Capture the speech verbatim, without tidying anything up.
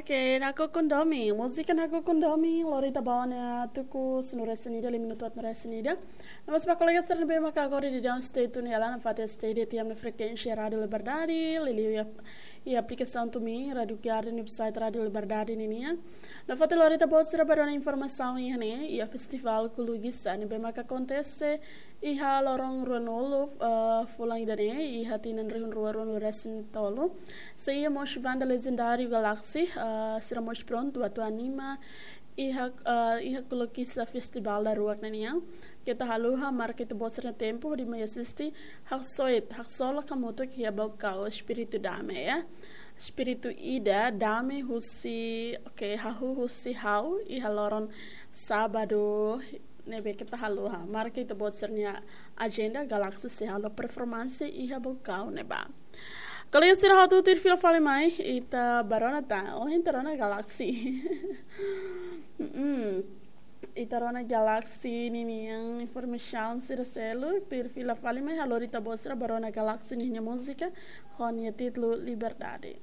Oke, nakukun domin. Múzika nakukun domin, lori ita-boot nia tuku sanulu-resin-ida, lima minutu atus-resin-ida. Nomós ba kolega sira ne'ebé maka agora daudaun stay tune hela nafatin stay iha ita-nia frekuénsia Rádio Liberdade, liuliu iha, iha aplikasaun TuneIn, Rádio Garden, website Rádio Liberdade ninian. Nafatin lori ita-boot sira ba rona informasaun iha ne'e, iha festivál Kulugisá ne'ebé maka akontese iha loron ruanulu, eh, fulan ida-ne'e, iha tinan rihun rua ruanulu-resin-tolu. Sei iha mós banda lejendáriu Galaxy, eh, sira mós prontu atu anima iha, eh, iha Kulugisá festivál daruak ne'e nian. Keta haluha, marka ita-boot sira-nia tempu hodi mai asiste, haksoit, haksolok hamutuk iha Baucau, espíritu dame, ya. Espíritu ida, dame husi, oke, hahú husi ha'u, iha loron sábadu ne'ebé keta haluha. Marka ita-boot sira-nia ajenda, Galaxy sei halo performance iha Baucau ne'ebá. Kolega sira, ha'u tuir fila fali mai, ita ba rona tan, ohin ita rona Galaxy. Mm-mm. Ita rona Galaxy ninian informasaun sira seluk, tuir fila fali mai, ha'u lori ita-boot sira ba rona Galaxy ninia múzika, ho nia títulu Liberdade.